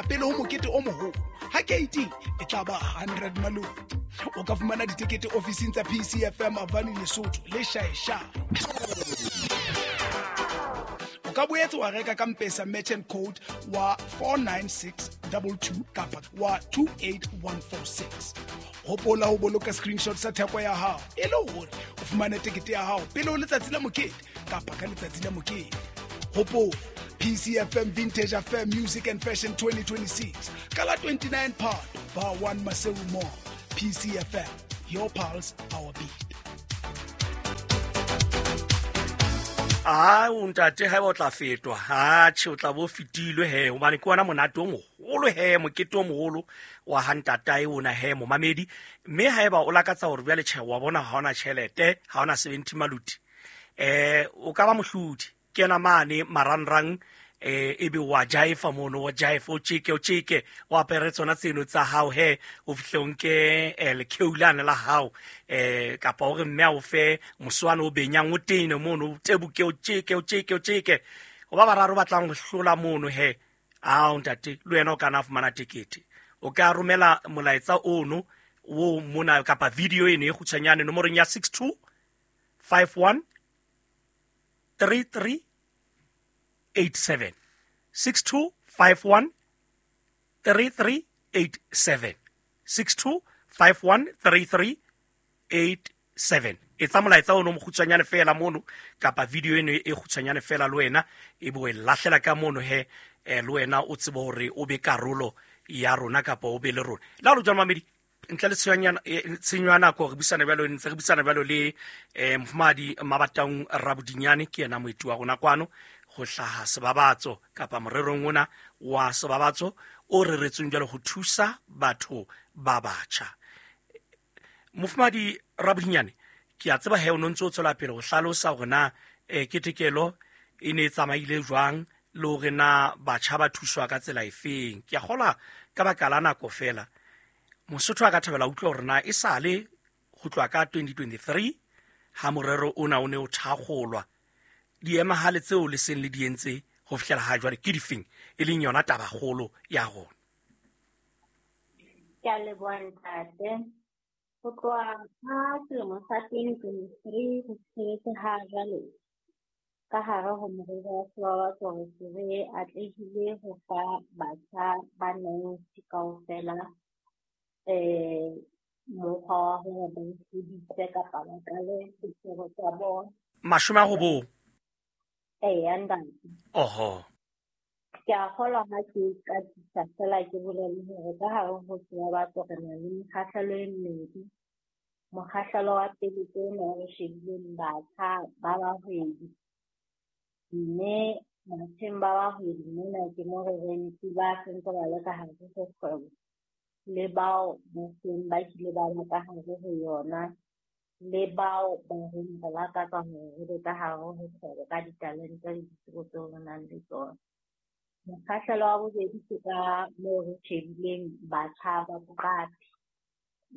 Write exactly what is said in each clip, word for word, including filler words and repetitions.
feela pele ho mokete o moholo. Ha keiting e tla ba hundred maluti. O ka fumana ditekete ofising tsa P C F M Avani Lesotho le Shaesha. O ka boetse wa reka ka M-Pesa merchant code wa four nine six two two kapa wa two eight one four six. Hopola ho boloka screenshot sa theko ya hao e le hore o fumane tekete ya hao pele ho letsatsi la mokete kapa ka letsatsi la mokete. Hopola P C F M Vintage Affair Music and Fashion twenty twenty-six ka la twenty-nine Phato Bar one Maseru Mall. P C F M, your pulse, our beat. Ah, o ntate ha o tla fetwa. Ha tjhe o tla bo fetilwe he hobane ke wona monate o moholo he mokete o moholo wa ha ntatae ona he momamedi. Mme haeba o lakatsa hore jwale tjhe wa bona ha ona tjhelete, ha ona seventy maluti. Eh o ka ba mohlodi. Kena mane marangrang eh ebe wa jaifa mono wa jaifa o tjeke o tjeke o apere tsona tseno tsa hao he o fihle o nke lekeulane la hao eh kapa hore mme a o fe moswana o benyang o tene mono o tebuke o tjeke o tjeke o tjeke o ba bararo batlang ho hlola mono he ao ntate le wena o kana fumana tekete o ka romela molaetsa ono o mona kapa video eno e kgutshwanyane nomorong ya six two five one three three eight seven six two five one three three eight seven six two five one three three eight seven. Etsa molaetsa ono mokgutshwanyane fela mono kapa video eno e kgutshwanyane fela le wena e bo e lahlela ka mono he le wena o tsebe hore o be karolo ya rona kapa o be le rona. La lo jwang mamedi ntle le tshenyana tshenyo ya nako re buisana jwalo ntse re buisana jwalo le eh mofumahadi Mabataung Rabodinyane ke yena moeti wa rona kwano ho hlaha sebabatso kapa morerong ona wa sebabatso o reretsweng jwalo ho thusa batho ba batjha. Mofumahadi Rabodinyane ke a tseba he o ntse o tswela pele ho hlalosa hore na eh ketekelo e ne e tsamaile jwang le hore na batjha ba thuswa ka tsela efeng. Ke a kgola ka baka la nako fela Mosotho a ka thabela utlwa hore na e sale ho tloha ka twenty twenty-three ha morero ona o ne o thakgolwa diemahale tseo le seng le di entse ho fihlela ha jwale ke difeng e leng yona tabakgolo ya rona. Ke a leboha ntate. Ho tloha ka selemo sa twenty twenty-three ho fihletse ha jwale ka hare ho morero wa sebabatso re se re atlehile ho fa batjha ba ninety kaofela eh mokgwa wa hore ba iphedise kapa ba qale dikgwebo tsa bona. Mashome a robong. Eya ntate. Oho. Ke a kgolwa ha ke qadisa fela ke bolele hore ka hare ho sebabatso re na le mekgahlelo e mmedi. Mokgahlelo wa pele ke ona o re shebileng batjha ba bahwebi. Mme batjheng ba bahwebi mona ke mo re reng ba sentse ba le ka hare ho kgwebo le bao ba seng ba kile ba ba ka hare ho yona le bao ba reng ba lakatsa hore re be ka hare ho kgwebo ka ditalente le ditsebo tseo re nang le tsona. Mokgahlelo wa bobedi ke ka moo re shebileng batjha ba boqapi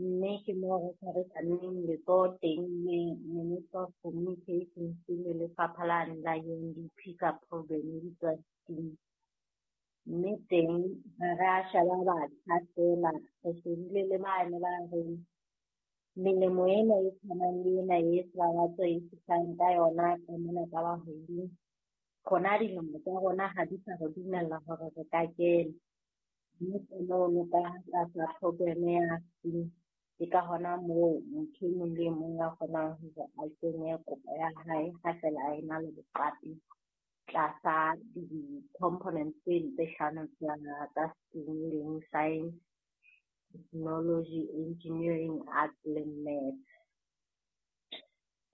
mme ke moo re tshwarisaneng letsoho teng le Minister of Communications le lefapha lane la U N D P ka program e bitswang STEAM. Mme teng ha re a sheba batjha fela re shebile le bane ba reng melemo ena e tshwanang le ena e sebabatso e fihlang ka yona ka mona ka bahwebing rona dilemo tsa rona ha di sa re dumella hore re ka kena. Mme ke mono ka tlasa program ya STEAM ke ka hona moo motho e mong le e mong a kgonang hore a kenye kopo ya hae ha fela a ena le boqapi tlasa di-components tse tse hlano tsa STEAM e leng science, technology, engineering, arts le maths.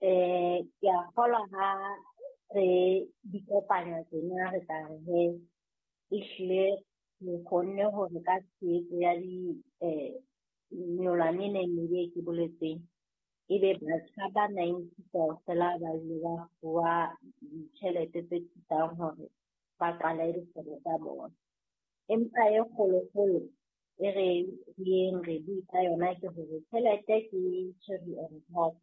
Eh ke a kgolwa ha re di kopanya tsena re tla re he ehlile re kgonne hore ka tshehetso ya di eh nyolwane e neng e ke boletseng ebe batjha ba ninety kaofela ba ile ba fuwa ditjhelete tse thusang hore ba qale dikgwebo tsa bona. Empa e kgolokgolo e re yeng re bue ka yona ke hore tjhelete ke cherry on top.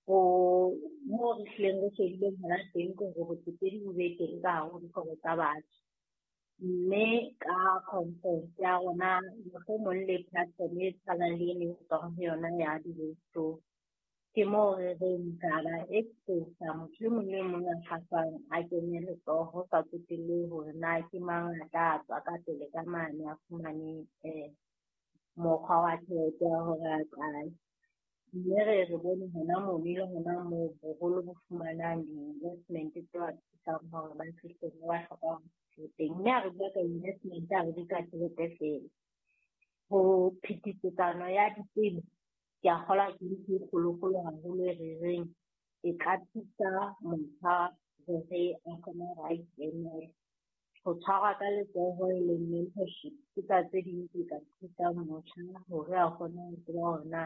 Ho moo re hlileng re shebileng hona teng ke hore botsetedi bo be teng ka hare ho dikgwebo tsa batjha. Mme ka conference ya rona mohlomong le platform e tshwanang le eno e tswang ho yona ya di-roadshow. Ke moo re reng ra ba expose motho e mong le mong a kgahlwang a kenye letsoho ho sa tsotellehe hore na ke mang a tla tswa ka pele ka mane a fumane mokgwa wa tjhelete ya hore a qale. Mme re re bone hona mono le hona moo boholo bo fumanang di-investment tse ba thusang hore ba fihle moo ba hlokang ho teng. Mme ha re bua ka investment ha re bue ka tjhelete feela. Ho phetisetsano ya ditsebo, ke a kgolwa ke ntho e kgolokgolo haholo e re reng e ka thusa motjha hore a kgone hore a ikemele. Ho tshwarwa ka letsoho e leng mentorship ke tsa tse ding tse ka thusang motjha hore a kgone ho tseba hore na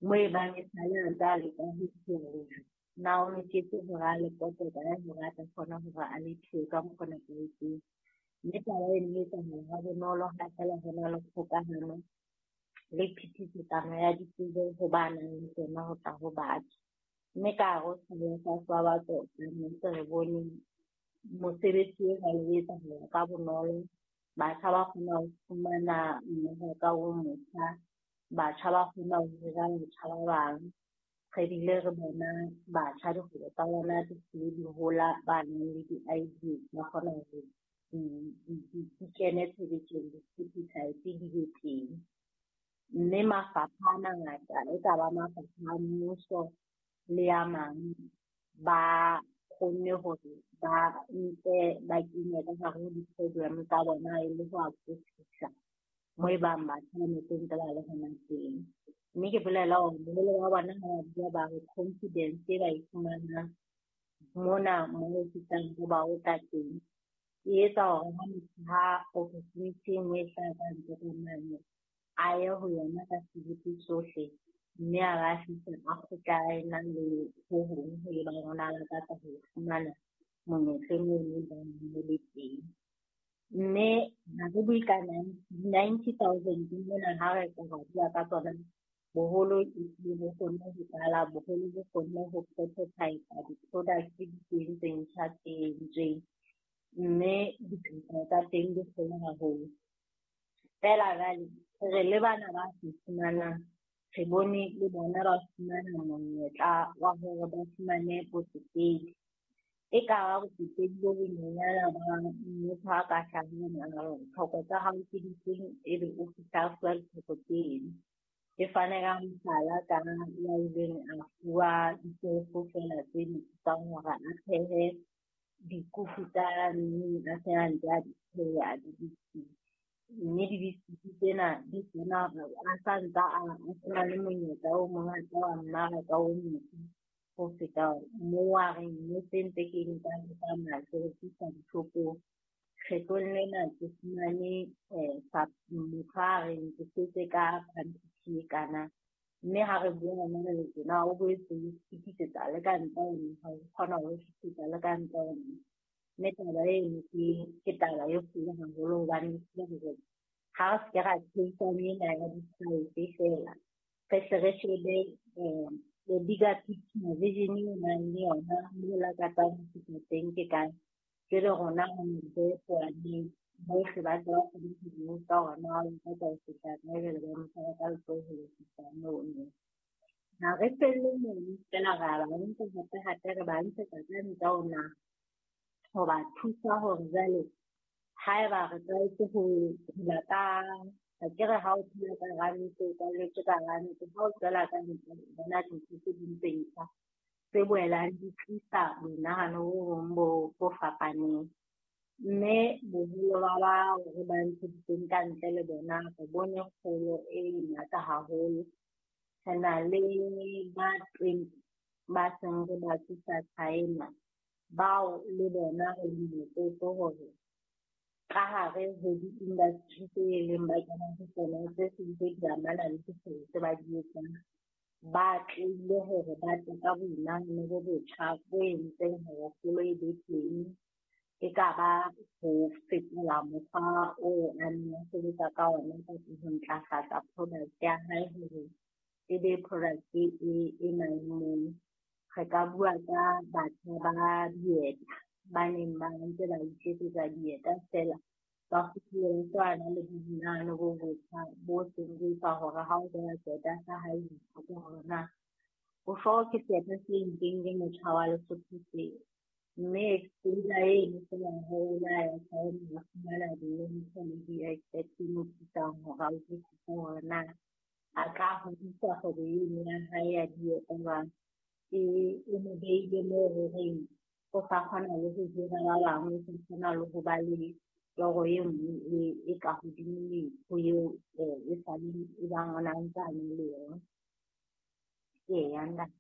moo e bang e sale a ntse a leka ho lejwe, na o loketse hore a le pote kae hore a tla kgona hore a le thuwe ka mokgwa o nepahetseng. Mme taba eno e etsahala ha bonolo ha feela hona le kgokahano le phetisetsano ya ditsebo ho ba nang le tsona ho tla ho batjha. Mme ka hare ho setjhaba sa batho ntse re bone mosebetsi o jwalo o etsahala ka bonolo. Batjha ba kgona ho fumana mmaraka o motjha, batjha ba kgona ho hira batjha ba bang. Re bile re bona batjha dikgwebo tsa bona di se di hola, ba nang le di-idea ba kgona hore di kene tshebetsong, di-prototype di be teng. Mme mafapha a mangata e ka ba mafapha a mmuso le a mang ba kgonne hore ba nke ba kenye ka hare ho di-program tsa bona e le ho akofisa moo e bang batjha ba ne ntse ba le hona teng. Mme ke bolela hore boholo ba bona ha ba bua ba re confidence e ba e fumanang mona moo re fihlang ho ba ruta teng e etsa hore ha motho ha opportunity e nngwe e hlaha ka ntle ka mane a ye ho yona ka sebete sohle, mme a ba fihla a kgutla a ena le ho hong ho e bang o na lakatsa ho fumana monyetleng ono e bang o le teng. Mme ha re bue ka ninety thousand mona ha re ka ra bua ka tsona, boholo ehlile bo kgonne ho qala, boholo bo kgonne ho prototype di-product di teng tse ntjha tse entsweng, mme dikatleho tsa teng di kgolo haholo. Feela jwale re le bana ba se fumanang, re bone le bona ba fumana monyetla wa hore ba fumane botsetedi. E ka ba botsetedi bo bonyenyana ba motho a ka hlahang a re tlhoko tsa hao ke difeng, ebe o fihla a fuwa ditlhoko tseno. Ke fane ka mohlala ka ya ileng a fuwa ditofo feela tse di thusang hore a phehe dikuku tsa mmeng a se a ntse a di pheha di-biscuit. Mme di-biscuit tsena di kgona a sa ntsa a sena le monyetla o mongata wa mmaraka o motjha ho feta moo a reng mme se ntse ke nka ke tsamaya ke rekisa dishopong. Kgetlong lena ke fumane motho a reng ke setse ka quantity e kana. Mme ha re bua hona jwale tjena o boetse o fetisetsa le ka ntle ho naha, o kgona ho fetisetsa le ka ntle ho naha. Mme taba eno ke taba e kgolo haholo hobane hore ha re se ke ra theisana ena ya di-price feela, re hle re shebe the bigger picture, vision eo o nang le yona moo o lakatsang ho fihla teng ke kae. Jwale rona re ntse bohle ba tle ba kgone ho botsa hore na o lakatsa ho fihla kae, jwale ba mo tshwara ka letsoho ho fihla mono. Ha re felle mono feela, re a ba nka hape hape re ba ntshetsa ka ntle ho naha ho ba thusa hore jwale haeba re tlwaetse ho phela ka akere ha o phela ka ranta, o tlwaetse ka ranta, ha o tswela ka ntle o bona dintho tse ding tse ntjha tse boelang di tlisa monahano o mong bo bo fapaneng. Mme boholo ba bao re ba ntsheditseng ka ntle le bona re bone kgolo e ngata haholo. Re na le ba twenty ba seng re ba tlisa China, bao le bona re le motlotlo hore ka hare ho di-industry tse leng ba kena ho tsona tse seng tse di amana le dikgwebo tse ba di etsang, ba tlile hore ba tle ka boinahano bo botjha bo entseng hore kgolo e be teng. E ka ba ho fetola mokgwa oo a neng a sebetsa ka ona kapa ho ntlafatsa product ya hae hore e be product e e maemong. Re ka bua ka batjha ba dieta ba neng ba ntse ba iketsetsa dieta feela, Ba kgutlile ba na le boinahano bo botjha bo seng bo etsa hore ha o beha seeta sa hae o ipotse hore na o sure ke seeta se entsweng ke motjha wa Lesotho se. Mme exposure eno feela ho la ya China, a fumana di-mentor le di-expert tse mo thusang hore a utlwisise hore na a ka hodisa kgwebo eno ya hae ya dieta jwang. E e mo behile moo horeng o sa kgona le ho hira ba bangwe, o sa kgona le ho ba le toro e nngwe e e ka hodimo ho eo e saleng e bang o na ntse a na le yona. Eya ntate.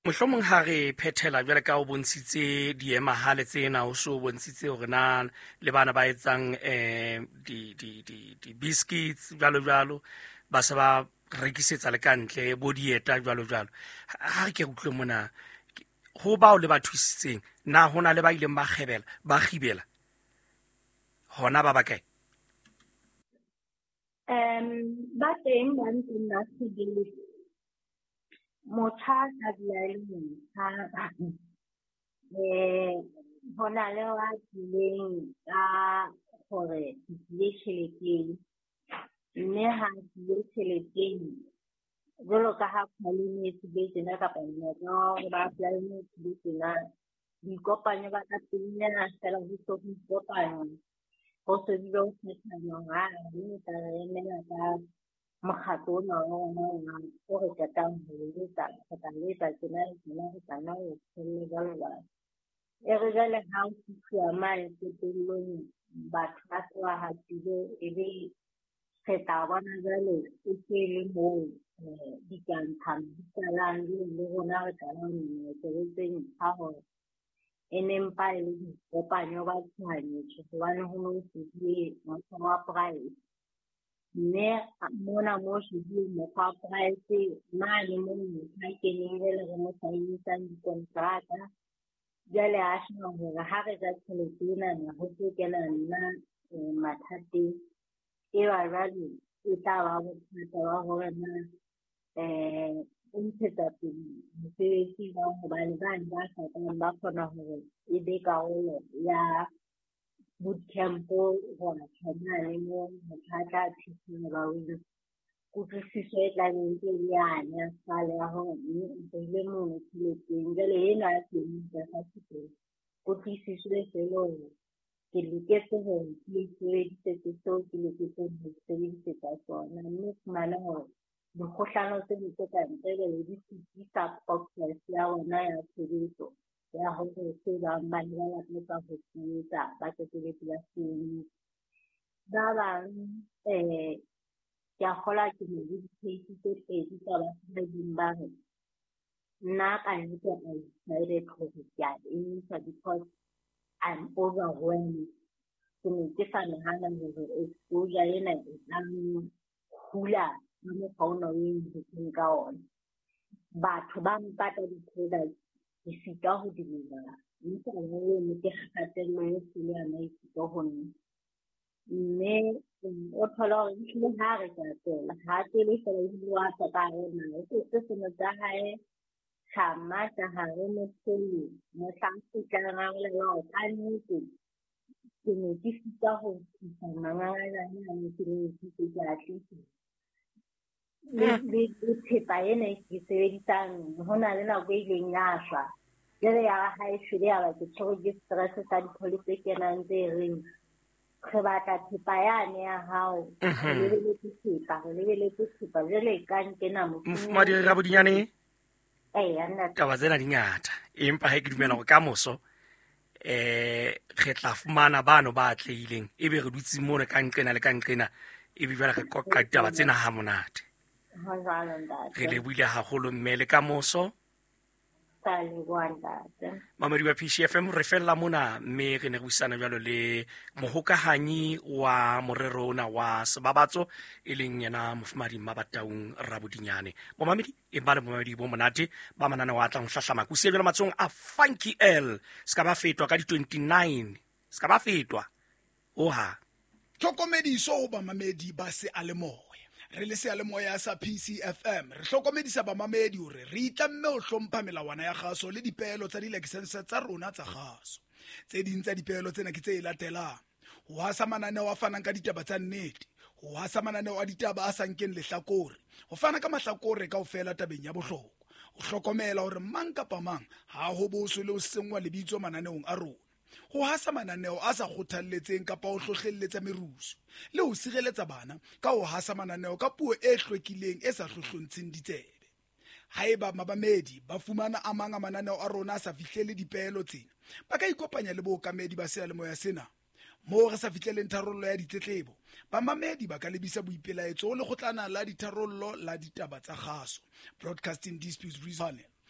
Mohlomong ha re phethela jwale ka o bontshitse diemahale tsena, o so bontshitse hore na le bana ba etsang eh di di di di biscuits jwalo jwalo, ba se ba rekisetsa le ka ntle bo dieta jwalo jwalo. Ha re ke utlwe mona ho bao le ba thusitseng, na hona le ba ileng ba kgebela ba kgibela hona ba bakae? Um ba teng ba ntseng ba kgibele. Motjha a ka dula e le motjha. Eh ho na le wa tlileng ka hore ke tlile tjheleteng, mme ha tlile tjheleteng jwalo ka ha climate tlile tjena kapa monyetla wa hore ba apply-ele tlile tjena, boikopanyo ba ka pelenyana feela ho so ho ikopanywa, ho se bile ho kgethanwa hore aa mme o tla re emela ka mokgatlo ona wa rona wa o re qetang ho o etsa, re tla o etsa tjena le tjena, re tla nna re o tshelle jwalo jwalo. E re jwale ha o fihluwa mane qetellong batho ba se ba hatile, ebe re tla bona jwale e se le moo ditantshano di qalang, le rona re qala ho nyenyetsa tse ntjha hore e ne mpa e le boikopanyo ba tshohanyetso hobane ho no shebuwe mokgwa wa price. Mme mona mo shebuwe mokgwa wa price mane moo motho a keneng jwale re mo saenisang dikonteraka. Jwale a sheba hore ha re ja tjhelete enana ho tlo kena nna mathateng. E ba jwale e tla ba bothata ba hore na eh o ntshetsa pele mosebetsi jwang hobane bane ba hlokang ba kgona hore e be karolo ya bootcamp hore mane moo motho a tla thusiwa ba o kutlwisiso e tla beng ntse e le yane ya kgale ya hore mme o beile mono tjheleteng. Jwale ena ya teng tlasa teng kutlwisiso e se le hore ke loketse hore ke sebedisetse seo ke loketseng ho sebedisetsa sona, mme o fumane hore dikgohlano tse ding tse ka ntle jwale di sitisa progress ya rona ya tshebetso ya hore se bang ba ne ba lakatsa ho se etsa ba qetelletse ba se entse. Ba bang eh ke a kgolwa ke ne le di-case tse pedi tsa batho ba ileng ba re nna ka nnete I decided hore ke a emisa because I'm overwhelmed. Ke ne ke sa nahana hore exposure ena e tla hula ka mokgwa ona o e nhutseng ka ona. Batho ba mpatla di-products ke sitwa ho deliver-a, mme taba eno ke kgatello e kgolo ya maikutlo ho nna. Mme o thola hore ehlile ha re ka tswela, ha tswele feela ebile wa tswa ka hare ho naha. O tlotse seno tsa hae tjhama ka hare motshelo, mohlang a kgutlang a bolela hore kannete ke ne ke sitwa ho tlisa mangangajane ane ke ne ke itse ke a tlisa. Le le thepa ena e ke sebedisang ho na le nako e ileng ya shwa. Jwale ya ba ha e shwele ya ba ke tshwerwe ke stress sa di-call tse kenang tse reng re batla thepa yane ya hao, re lebeletse thepa, re lebeletse thepa. Jwale e ka nkena Mofumahadi Rabodinyane, Eya ntate. Taba tsena di ngata, empa ha ke dumela hore ka moso eh re tla fumana bano ba atlehileng, ebe re dutse mona ka nqena le ka nqena, ebe jwale re qoqa ditaba tsena ha monate. Ho jwalo ntate. Re lebohile haholo mme le ka moso. Ka leboha ntate. Mamedi wa P C F M re fella mona, mme re ne re buisana jwalo le mohokahanyi wa morero ona wa Sebabatso e leng yena Mofumahadi Mabataung Rabodinyane. Momamedi e ba le momamedi bo monate ba mananeo a tlang ho hlahlama. Ke o siya jwalo matsohong a Funky L. Se ka ba fetwa ka di twenty-nine. Se ka ba fetwa. Oha. Tlhokomediso ho bamamedi ba seyalemoya. Re le seyalemoya sa P C F M re hlokomedisa bamamedi hore re itlamme ho hlompha melawana ya kgaso le dipeelo tsa dilakesense tsa rona tsa kgaso. Tse ding tsa dipeelo tsena ke tse latelang: Ho hasa mananeo a fanang ka ditaba tsa nnete, ho hasa mananeo a ditaba a sa nkeng lehlakore, ho fana ka mahlakore kaofela tabeng ya bohlokwa, ho hlokomela hore mang kapa mang ha ho boswe le ho senngwa lebitso mananeong a rona, ho hasa mananeo a sa kgothalletseng kapa ho hlohlelletsa merusu, le ho sireletsa bana ka ho hasa mananeo ka puo e hlwekileng e sa hlohlontsheng ditsebe. Haeba mamamedi ba fumana a mang a mananeo a rona a sa fihlele dipeelo tsena, ba ka ikopanya le bookamedi ba seyalemoya sena. Moo re sa fihleleng tharollo ya ditletlebo, bamamedi ba ka lebisa boipelaetso ho lekgotlana la ditharollo la ditaba tsa kgaso, Broadcasting Disputes Panel.